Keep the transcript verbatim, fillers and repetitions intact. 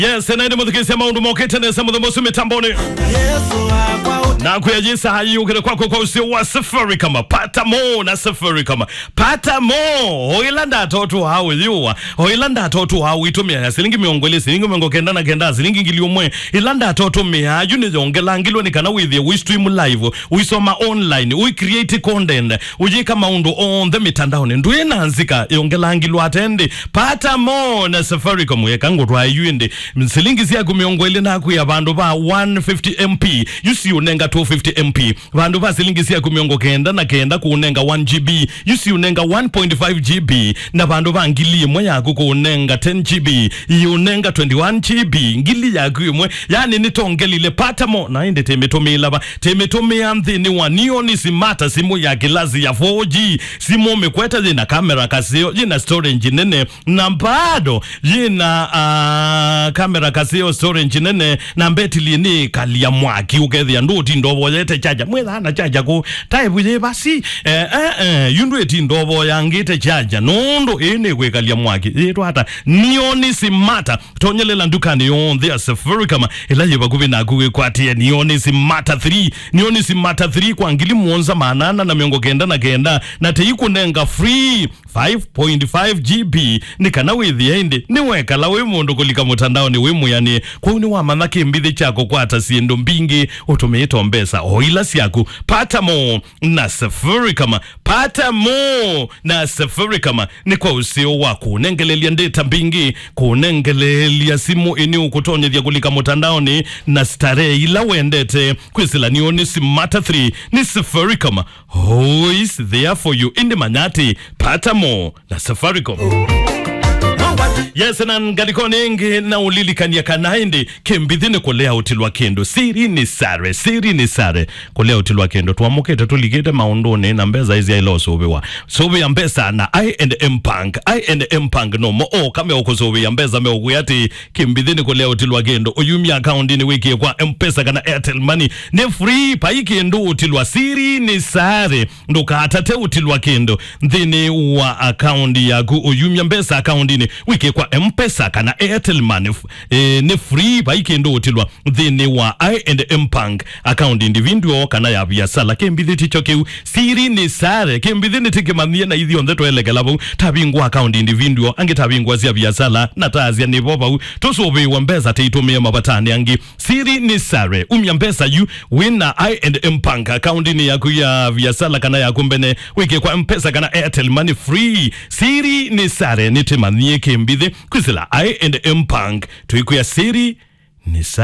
Yes, na ĩndĩ mũthikĩĩsya, maũndũ mokĩte nesa mũthenya ũsu mĩtambonĩ. Na kwĩyĩsa ayĩũkĩte kwakwa kwa ũseo wa Safaricom. Pata mo na Safaricom. Pata mo, o ĩla ndata ũtũaa ũyĩũa, o ĩla ndata ũtũaa ũitũmĩa ya silingi mĩongo ĩlĩ, silingi mĩongo kenda na kenda, silingi ngili ũmwe, ĩla ndata ũtũmĩaa yu nĩyongelangilwe nĩ kana wĩthĩe ũi stream live, ũisoma online, ũi create content, ũyĩka maũndũ onthe mĩtandaonĩ. Ndwĩ na nzika, yongelangilwe ata ĩndĩ? Pata mo na Safaricom, eka ngũtwae yu ĩndĩ. Silingi syaku mĩongo ĩlĩ nakwĩa, vandũ va one fifty M P, yu siũnenga two fifty M P. Vandũ va silingi syaku mĩongo kenda na kenda kũũnenga one G B, yu siũnenga one point five G B. Na vandũ va ngili ĩmwe yaku kũũnenga ten G B, iũnenga twenty-one G B. Ngili yaku ĩmwe, yani nĩtongelile. Pata mo, na ĩndĩ tĩmĩtũmĩĩla va, tĩmĩtũmĩa nthĩnĩ wa Neon Smart, simũ ya kĩlasi ya four G, simũ mĩkwete, yĩna kamera kaseo, yĩna storage nene, na bado yĩna, ah, kamera kaseo, storage nene, na mbetili nĩ kalia mwaki, ũkethĩa ndũtinda ũvoyete charger. Mwĩthaa na charger kũ? Type yĩ basi. Eh, eh, eh, yu ndwĩtinda ũvoyangĩte charger, nũndũ ĩĩ nĩ kwĩkalia mwaki. Yĩtwa ata? Neon Smart. Tonyelela ndukanĩ yonthe ya Safaricom ĩla yĩ vakuvĩ naku wĩkwatĩe Neon Smart three. Neon Smart three kwa ngili mũonza maana ana na mĩongo kenda na kenda, na tĩikũnenga free five point five G B, nĩ kana wĩthĩe ĩndĩ nĩwekala wĩ mũndũ kũlika mũtandaonĩ wĩ mwĩanĩe. Kwoou nĩwamanya kĩmbithĩ kya kũkwata syĩndũ mbingĩ ũtũmĩĩte mbesa o ila syaku. Pata mo na Safaricom. Pata mo na Safaricom nĩ kwa ũseo wa kũnengelelya ndata mbingĩ, kũnengelelya simũ ĩnĩ ũkũtonyethya kũlika mũtandaonĩ na starehe ila wendete. Kwĩsĩla Neon Smart three nĩ Safaricom. Always there for you. Ĩndĩ manya atĩ, pata mo na Safaricom. Yes, na ngalĩkonĩ ĩngĩ na ũlilikany'a kana ĩndĩ kĩmbithĩ nĩ kũlea ũtilwa kĩndũ. Siri ni sare, siri ni sare. Kũlea ũtilwa kĩndũ. Twamũkĩte tũlikĩte maũndũnĩ na mbesa ĩsyaĩle ũsũvĩwa. Sũvĩa mbesa na I and M Bank. I and M Bank no mo oka meũkũsũvĩa mbesa, meũkwĩa atĩ kĩmbithĩ nĩ kũlea ũtilwa kĩndũ. Ũyumya akaundinĩ wĩkĩe kwa M-Pesa kana Airtel Money. Nĩ free, vai kĩndũ ũtilwa. Siri ni sare. Ndũkatate ũtilwa kĩndũ nthĩnĩ wa akaũndi yaku. Ũyumya mbesa akaundinĩ wĩkĩe kwa M-Pesa kana Airtel Money. F-, eh, nĩ free, vai kĩndũ ũtilwa nthĩnĩ wa I and M Bank, akaũndi individual kana ya viasala. Kĩmbithĩ tikyo kĩu. Siri ni sare. Kĩmbithĩ nĩtĩkĩmanyie na ithyonthe twelekela vau. Tavingwa akaũndi individual, angĩ tavingwa sya viasala, na taasya nĩvo vau. Tũsũvĩĩwa mbesa tĩitũmĩe mavatanĩ angĩ. Siri ni sare. Umya mbesa yu wĩna I and M Bank akaundinĩ yaku ya viasala kana yaku mbene, wĩkĩe kwa M-Pesa kana Airtel Money free. Siri ni sare, nĩtĩmanyie kĩmbithĩ. Kwĩsĩla I and M Bank, tũikwĩa siri ni sare.